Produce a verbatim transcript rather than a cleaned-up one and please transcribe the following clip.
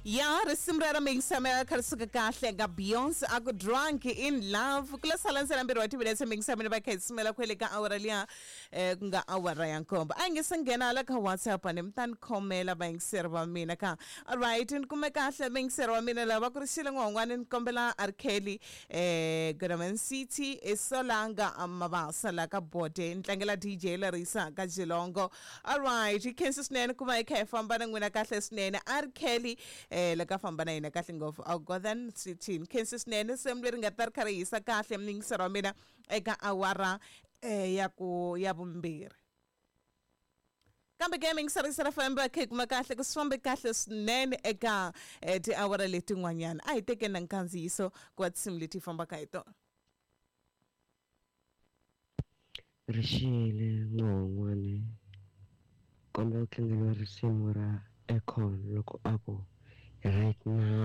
Ya risimu ra mixamela kha ri suka kahle ka Beyonce a ku Drunk in Love. Ku la sala ntsena mbirhi wa timinetse mixamela va kha hi sumela kwele ka awara liya eh, ku nga awara ya nkombo. A hi nge se nghena la ka WhatsApp ni mi ta ni khomela vayingiseri va mina ka. Alright, ni kume kahle vayingiseri va mina lava ku ri xile n'wan'wani ni kombela R Kelly eh Goodman City esolanga Mabasa la ka Bode ni tlangela D J Larissa ka Jilongo. Alright, hi khensa swinene ku va hi kha hi famba na n'wina kahle swinene. R Kelly eh la ka famba na hina kahle ngopfu a Gotham City. Khensa swinene risimu leri nga ta ri kha ri hisa kahle muyingiseri wa mina eka awara eh ya ku ya vumbirhi. Kambe ke muyingiseri wa F M va kha hi kuma kahle ku swi fambe kahle swinene eka eh, tiawara letin'wanyana. A hi tekeni na nkandziyiso ku va tinsimu leti hi fambaka hi tona. Rixile n'wan'wani kombela ku tlangeriwa risimu ra Akon loko a ku right now.